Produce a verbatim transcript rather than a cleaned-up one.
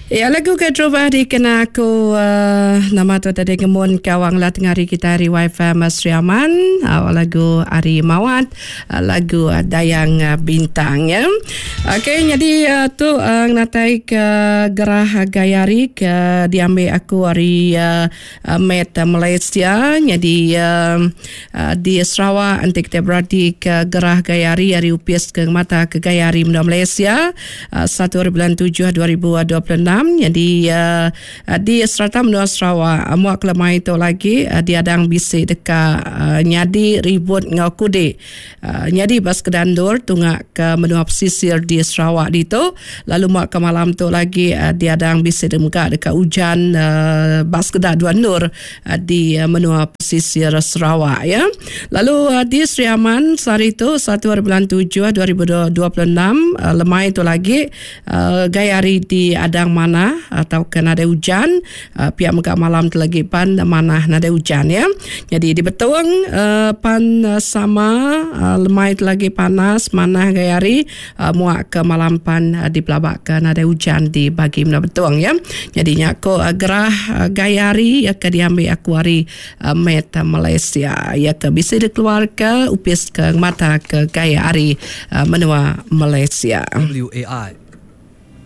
Ya, lagu ke terubah dikena aku uh, nama tu tadi ngemun kawang lah tengah hari kita hari Wi-Fi Sri Aman, uh, lagu Ari Mawat, uh, lagu uh, Dayang uh, Bintang ya. Okey, jadi uh, tu uh, ngatai ke gerah gayari ke diambil aku hari uh, uh, Met Malaysia. Jadi uh, uh, di Sarawak nanti kita berarti ke gerah gayari hari upis ke mata ke gayari menua Malaysia uh, satu bulan tujuh dua ribu dua puluh enam. Jadi uh, di serata menua Sarawak uh, muak kelemah itu lagi uh, diadang bisi deka uh, nyadi ribut ngau kudik uh, nyadi bas kedandur tungak ke menua pesisir di Sarawak ditu. Lalu muak ke malam tu lagi uh, diadang bisi demuka deka hujan uh, bas kedak dua nur uh, di uh, menua pesisir Sarawak ya. Lalu uh, di Sri Aman sehari itu satu bulan tujuh dua ribu dua puluh enam uh, lemai itu lagi uh, gaya hari di adang mana atau kena ada hujan uh, pihak megak malam tu lagi pan mana nada hujan ya. Jadi di Betong uh, pan uh, sama uh, lemai tu lagi panas mana gaya hari uh, muak ke malam pan uh, di pelabak ke nada hujan di bagi menua Betong ya. Jadi nyako uh, gerah uh, gaya hari ya ke diambil aku hari uh, Met Malaysia ya ke bisa dikeluar ke upis ke mata ke gaya hari uh, menua Malaysia. W A I